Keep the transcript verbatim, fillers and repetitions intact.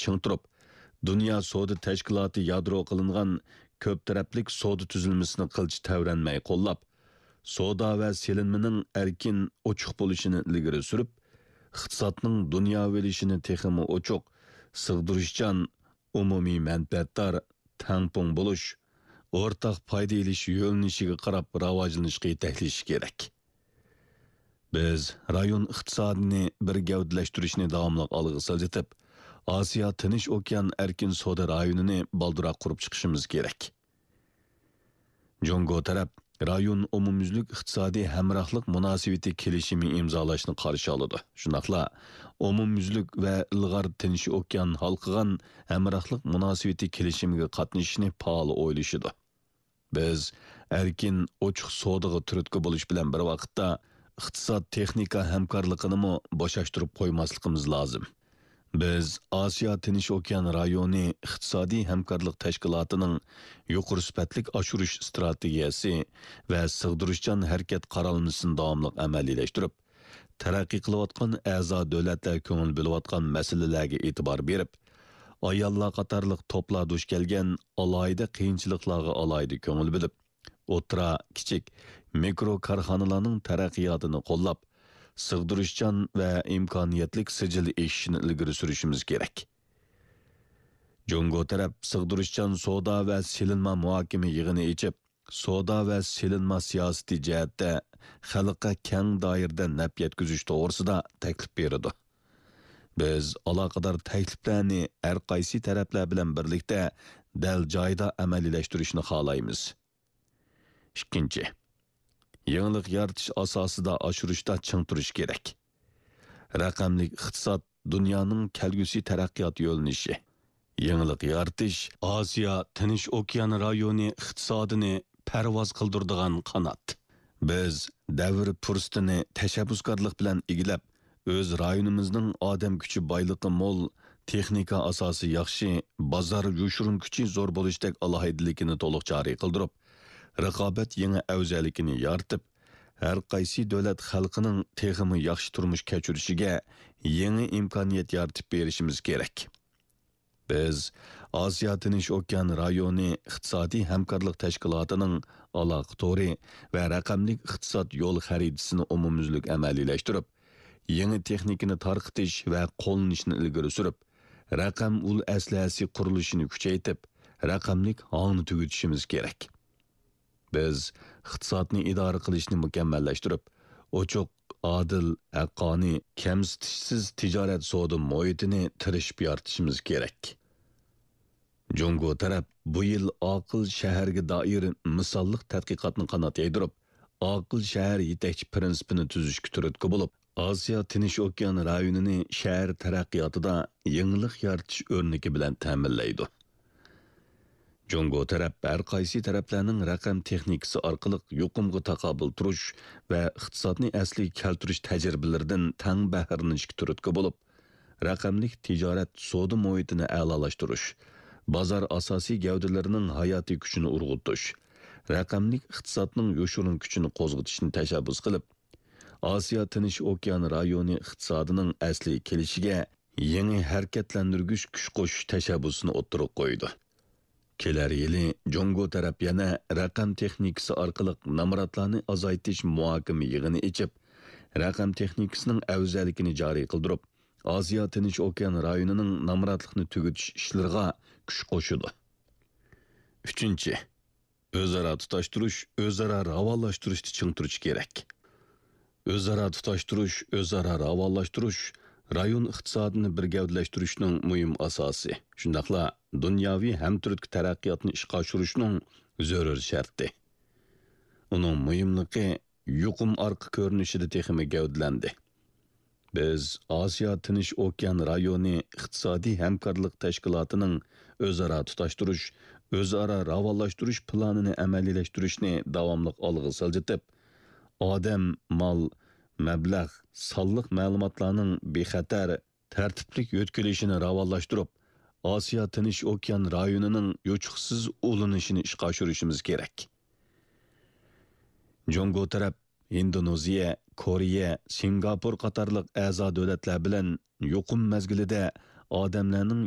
چىڭ تۇرۇپ، دۇنيا سودا تەشكىلاتى يادرو قىلىنغان كۆپ تەرەپلىك سودا تۈزۈلمىسىنى قىلچە تەۋرەنمەي قوللاپ، سودا ۋە سېلىنمىنىڭ ئەركىن، ئوچۇق بولۇشىنى ئىلگىرى سۈرۈپ، ئىقتىسادنىڭ دۇنياۋىلىشىشىنى تېخىمۇ ئوچۇق، سىغدۇرۇشچان، ئومۇمىي مەنپەئەتدار، تەڭپۇڭ بولۇش، ئورتاق پايدا ئېلىش يۆنىلىشىگە قاراپ راۋاجلىنىشقا يېتەكلىشى كېرەك. بىز رايون ئىقتىسادىنى بىر گەۋدىلەشتۈرۈشنى داۋاملىق ئالغا سىلجىتىپ، ئاسىيا تىنچ ئوكيان ئەركىن سودا رايونىنى بالدۇرراق قۇرۇپ چىقىشىمىز كېرەك. جۇڭگو تەرەپ رايون ئومۇميۈزلۈك ئىقتىسادىي ھەمراھلىق مۇناسىۋىتى كېلىشىمى ئىمزالاشنى قارشى ئالىدۇ. شۇنداقلا ئومۇميۈزلۈك ۋە ئىلغار تىنچ ئوكيان ھالقىغان ھەمراھلىق مۇناسىۋىتى كېلىشىمىگە قاتنىشىشنى پائال ئويلىشىدۇ. بىز ئەركىن، ئوچۇق سودىغا تۈرتكە بولۇش بىلەن بىر ۋاقىتتا، ئىقتىساد، تېخنىكا ھەمكارلىقىنىمۇ بوشاشتۇرۇپ قويماسلىقىمىز لازىم. بىز ئاسىيا تىنچ ئوكيان رايونى ئىقتىسادىي ھەمكارلىق تەشكىلاتىنىڭ يۇقىرى سۈپەتلىك ئاشۇرۇش ئىستراتېگىيەسى ۋە سىغدۇرۇشچان ھەرىكەت قارالمىسىنى داۋاملىق ئەمەلىيلەشتۈرۈپ، تەرەققىي قىلىۋاتقان ئەزا دۆلەتلەر كۆڭۈل بۆلۈۋاتقان مەسىلىلەرگە ئېتىبار بېرىپ، ئاياللار قاتارلىق توپلار دۇچ كەلگەن ئالاھىدە قىيىنچىلىقلارغا ئالاھىدە كۆڭۈل بۆلۈپ، ئوتتۇرا، كىچىك، مىكرو كارخانىلارنىڭ تەرەققىياتىنى قوللاپ، سىغدۇرۇشچان ۋە ئىمكانىيەتلىك سىجىل ئېشىشىنى ئىلگىرى سۈرۈشىمىز كېرەك. جۇڭگو تەرەپ سىغدۇرۇشچان سودا ۋە سېلىنما مۇھاكىمە يىغىنى ئېچىپ، سودا ۋە سېلىنما سىياسىتى جەھەتتە خەلققە كەڭ دائىرىدە نەپ يەتكۈزۈش توغرىسىدا تەكلىپ بېرىدۇ. بىز ئالاقىدار تەكلىپلەرنى ھەر قايسى تەرەپلەر بىلەن بىرلىكتە دەل جايىدا ئەمەلىيلەشتۈرۈشنى خالايمىز. ئىككىنچى، يېڭىلىق يارىتىش ئاساسىدا ئاشۇرۇشتا چىڭ تۇرۇش كېرەك. رەقەملىك ئىقتىساد دۇنيانىڭ كەلگۈسى تەرەققىيات يۆنىلىشى. يېڭىلىق يارىتىش ئاسىيا تىنچ ئوكيان رايونى ئىقتىسادىنى پەرۋاز قىلدۇرىدىغان قانات. بىز دەۋر پۇرسىتىنى تەشەببۇسكارلىق بىلەن ئىگىلەپ، ئۆز رايونىمىزنىڭ ئادەم كۈچى بايلىقى مول، تېخنىكا ئاساسى ياخشى، بازار يوشۇرۇن كۈچى زور بولۇشتەك ئالاھىدىلىكىنى تولۇق جارى قىلدۇرۇپ، رىقابەت يېڭى ئەۋزەللىكىنى يارىتىپ، ھەر قايسى دۆلەت خەلقىنىڭ تېخىمۇ ياخشى تۇرمۇش كەچۈرۈشىگە يېڭى ئىمكانىيەت يارىتىپ بېرىشىمىز كېرەك. بىز ئاسىيا تىنچ ئوكيان رايونى ئىقتىسادىي ھەمكارلىق تەشكىلاتىنىڭ ئالاقە تورى ۋە رەقەملىك ئىقتىساد يول خەرىتىسىنى ئومۇميۈزلۈك ئەمەلىيلەشتۈرۈپ، يېڭى تېخنىكىنى تارقىتىش ۋە قوللىنىشنى ئىلگىرى سۈرۈپ، رەقەم ئۇل ئەسلىھەسى قۇرۇلۇشىنى كۈچەيتىپ، رەقەملىك ھاڭنى تۈگىتىشىمىز كېرەك. بىز ئىقتىسادنى ئىدارە قىلىشنى مۇكەممەللەشتۈرۈپ، ئوچۇق، ئادىل، ھەققانىي، كەمسىتىشسىز تىجارەت سودا مۇھىتىنى تىرىشىپ يارىتىشىمىز كېرەك. جۇڭگو تەرەپ بۇ يىل ئاقىل شەھەرگە دائىر مىساللىق تەتقىقاتنى قانات يايدۇرۇپ، ئاقىل شەھەر يېتەكچى پىرىنسىپىنى تۈزۈشكە تۈرتكە بولۇپ، ئاسىيا تىنچ ئوكيان رايونىنى شەھەر تەرەققىياتىدا يېڭىلىق يارىتىش ئۆرنىكى بىلەن تەمىنلەيدۇ. جۇڭگو تەرەپ ھەر قايسى تەرەپلەرنىڭ رەقەم تېخنىكىسى ئارقىلىق يۇقۇمغا تاقابىل تۇرۇش ۋە ئىقتىسادنى ئەسلىگە كەلتۈرۈش تەجرىبىلىرىدىن تەڭ بەھرىلىنىشكە تۈرتكە بولۇپ، رەقەملىك تىجارەت سودا مۇھىتىنى ئەلالاشتۇرۇش، بازار ئاساسىي گەۋدىلىرىنىڭ ھاياتىي كۈچىنى ئۇرغۇتۇش، رەقەملىك ئىقتىسادنىڭ يوشۇرۇن كۈچىنى قوزغىتىشنى تەشەببۇس قىلىپ، ئاسىيا تىنچ ئوكيان رايونى ئىقتىسادىنىڭ ئەسلىگە كېلىشىگە يېڭى ھەرىكەتلەندۈرگۈچ كۈچ قوشۇش تەشەببۇسىنى ئوتتۇرىغا قويىدۇ. كېلەر يىلى جۇڭگو تەرەپ يەنە رەقەم تېخنىكىسى ئارقىلىق نامراتلارنى ئازايتىش مۇھاكىمە يىغىنى ئېچىپ، رەقەم تېخنىكىسىنىڭ ئەۋزەللىكىنى جارى قىلدۇرۇپ، ئاسىيا تىنچ ئوكيان رايونىنىڭ نامراتلىقنى تۈگىتىش ئىشلىرىغا كۈچ قوشىدۇ. ئۈچىنچى، ئۆزئارا تۇتاشتۇرۇش، ئۆزئارا راۋانلاشتۇرۇشتا چىڭ تۇرۇش كېرەك. ئۆزئارا تۇتاشتۇرۇش، ئۆزئارا راۋانلاشتۇرۇش رايون ئىقتىسادىنى بىر گەۋدىلەشتۈرۈشنىڭ مۇھىم ئاساسى، شۇنداقلا دۇنياۋى ھەمتۈرتكە تەرەققىياتنى ئىشقا ئاشۇرۇشنىڭ زۆرۈر شەرتى. ئۇنىڭ مۇھىملىقى يۇقۇم ئارقا كۆرۈنۈشىدە تېخىمۇ گەۋدىلەندى. بىز ئاسىيا تىنچ ئوكيان رايونى ئىقتىسادىي ھەمكارلىق تەشكىلاتىنىڭ ئۆزئارا تۇتاشتۇرۇش، ئۆزئارا راۋانلاشتۇرۇش پىلانىنى ئەمەلىيلەشتۈرۈشنى داۋاملىق ئالغا سىلجىتىپ، ئادەم، مال، مەبلەغ، سانلىق مەلۇماتلارنىڭ بىخەتەر، تەرتىپلىك يۆتكىلىشىنى راۋانلاشتۇرۇپ، ئاسىيا تىنچ ئوكيان رايونىنىڭ يوچۇقسىز ئۇلىنىشىنى ئىشقا ئاشۇرۇشىمىز كېرەك. جۇڭگو تەرەپ ھىندونېزىيە، كورېيە، سىنگاپور قاتارلىق ئەزا دۆلەتلەر بىلەن يۇقۇم مەزگىلىدە ئادەملەرنىڭ